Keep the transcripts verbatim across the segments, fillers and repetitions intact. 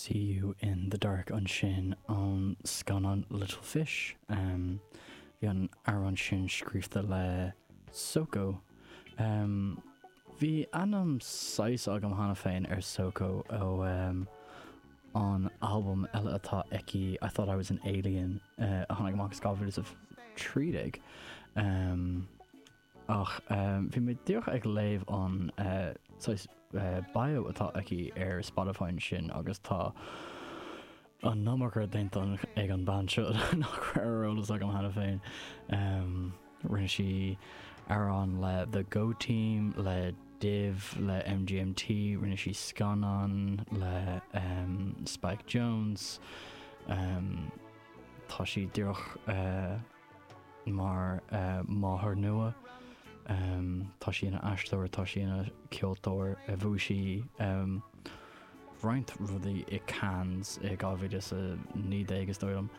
See You in the Dark ansin ón scannán Little Fish. Um, bhí an amhrán sin scríofa le Soko. Um, bhí ainm saghas agam cheana féin ar Soko ó um, an albam eile atá aici I Thought I Was an Alien uh, a tháinig amach dhá mhíle is a trí déag. Um, ach um, bhí mé díreach ag léamh an uh, saghas, uh, bio atá aici ar Spotify sin agus tá an iomarca déanta ag an bhean seo nach raibh ar eolas agam cheana féin. Um, rinne sí amhrán le The Go Team le Div le MGMT, rinne sí scannán le um, Spike Jonze. Um, tá sí díreach uh, mar uh, máthair nua. Um, tá sí ina aisteoir, tá sí ina ceoltóir a bhuaigh sí um, roinnt rudaí i Cannes i dhá mhíle is a naoi déag is dóigh liom.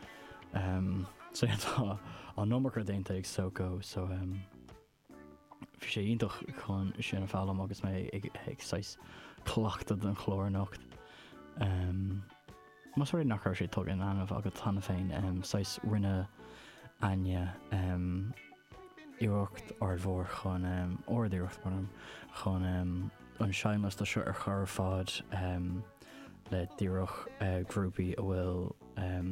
Um, so tá an iomarca déanta ag Soko so um, bhí sé iontach chun sin a fhoghlaim agus mé ag, ag saghas cleachtadh don chlár anocht. Um, Más rud nach raibh sé tugtha in ainm agat cheana féin um, saghas rinne Aine um, iarracht ardmhór chun um, ard-iarracht mar chun um, an seinnliosta seo a chur ar fáil um, le díreach uh, grúpaí a bhfuil um,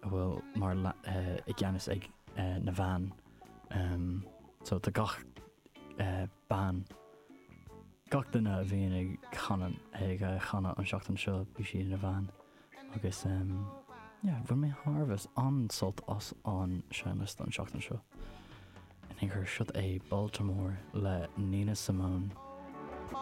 a bhfuil mar uh, i gceannas ag uh, na mná. Um, so tá gach uh, bean gach duine a bhíonn ag canadh ag uh, chanadh an seachtain seo bhí sí ina bhean agus um, yeah, bhain mé thar an-sult as an seinnliosta an seachtain seo. In chor seo é Baltimore le Nina Simone.